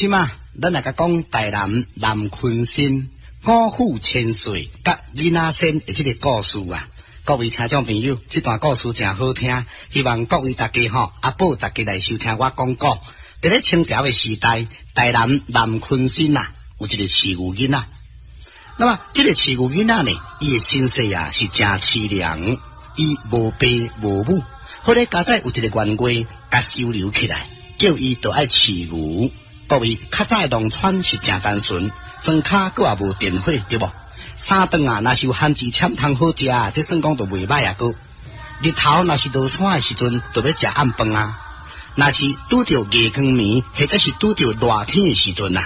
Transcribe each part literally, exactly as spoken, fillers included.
這馬咱來共講台南南鯤鯓五虎千歲佮囡仔仙的這个故事啊！各位聽眾朋友，這段故事誠好聽，希望各位大家吼，阿寶大家來收聽我講古。佇咧清朝的時代，台南南鯤鯓啊，有一个飼牛囡仔。那麼，這个飼牛囡仔呢，伊的身世啊是誠淒涼，伊無爸無母，好咧佳哉有一个員外共收留起來，叫伊著愛飼牛。各位較早的農村是誠單純，莊跤閣也無電火，對無？三頓啊，若是有番薯攕通好食，這算講就袂䆀啊閣。日頭若是落山的時陣，就欲食暗飯啊。若是拄著月光暝，或者是拄著熱天的時陣啊，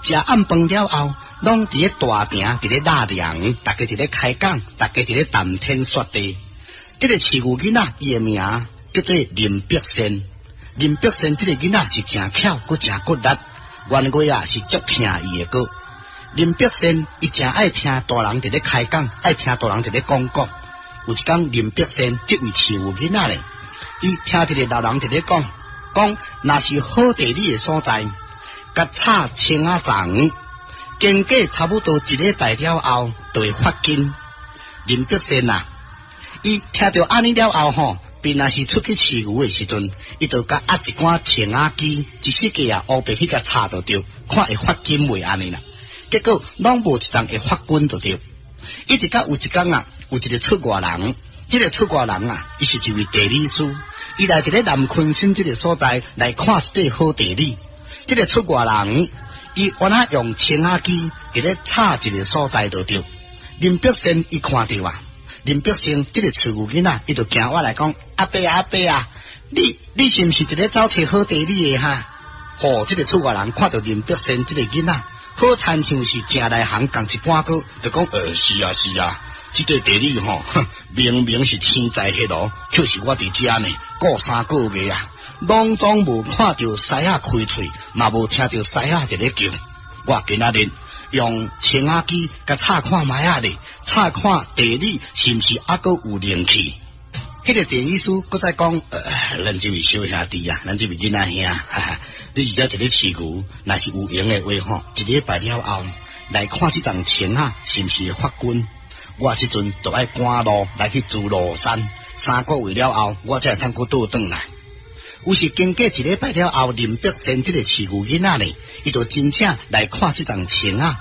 食暗飯了後，攏佇咧大埕佇咧納涼，大家佇咧開講，大家佇咧談天說地。這个飼牛囡仔，伊的名叫做林伯仙。林伯仙這个囡仔是誠巧，閣誠骨力，員外啊是足疼伊的閣。林伯仙伊誠愛聽大人佇咧開講，愛聽大人佇咧講古。有一工林伯仙這位飼牛囡仔咧，伊聽一个老人佇咧講，講若是好地理的所在，共插青仔欉，經過差不多一禮拜了後，就會發根。林伯仙啊，伊聽著按呢了後吼，便若是出去飼牛的時陣，伊就共壓一竿青仔枝，一四界啊烏白去共插就對，看會發根袂按呢啦。結果攏無一叢會發根就對。一直到有一工啊，有一个出外人，這个出外人啊，伊是一位地理師，伊來佇咧南鯤鯓這个所在來看一塊好地理。這个出外人，伊原來用青仔枝佇咧插一个所在就對。林伯仙伊看著啊，林伯仙這个飼牛囡仔，伊就行過來講：阿伯啊，阿伯啊，你你是毋是佇咧走揣好地理的哈？吼，這个出外人看著林伯仙這个囡仔，好親像是誠內行仝一般閣，就講呃是啊是啊，這個地理吼，明明是天在彼囉，卻是我佇遮呢，顧三個月啊，攏總無看著獅仔開喙，嘛無聽著獅仔佇咧叫。我今仔日用青仔枝共插看覓仔咧，插看地理是毋是猶閣有靈氣？彼个地理師閣再講，呃，咱這位小兄弟啊，咱這位囡仔兄，哈哈，你佇遮佇咧飼牛，若是有閒的話吼，一禮拜了後來看這叢青仔是毋是會發根？我這陣就愛趕路來去諸羅山，三個月了後，我才會通閣倒轉來。有是經過一禮拜了後，林伯仙這个飼牛囡仔呢，伊就真正來看這叢青仔，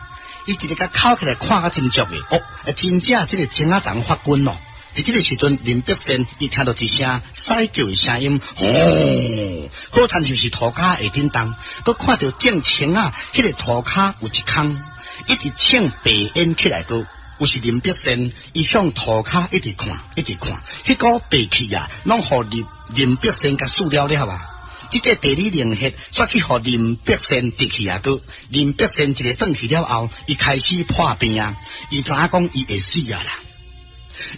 伊一个共抾起來看甲真足的，哦，真正這个青仔叢發根咯。佇這个時陣，林伯仙伊聽著一聲獅叫的聲音，吼，好親像是塗跤會振動，閣看著種青仔，彼个塗跤有一空，一直衝白煙起來閣。有時林伯仙伊向塗跤一直看，一直看，彼股白氣啊，攏予林林伯仙共欶了了啊！這個地理靈血煞去予林伯仙得去啊！閣林伯仙一个轉去了後，伊開始破病啊！伊知影講伊會死啊啦！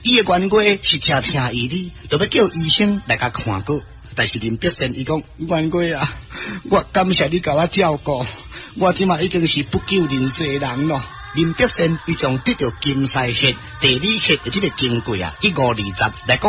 伊的員外是誠疼伊哩，就欲叫醫生來共看過。但是林伯仙伊講員外啊，我感謝你共我照顧，我這馬已經是不久人世人咯。林伯仙伊將得著金獅血、地理血的這个經過啊，一五二十來講。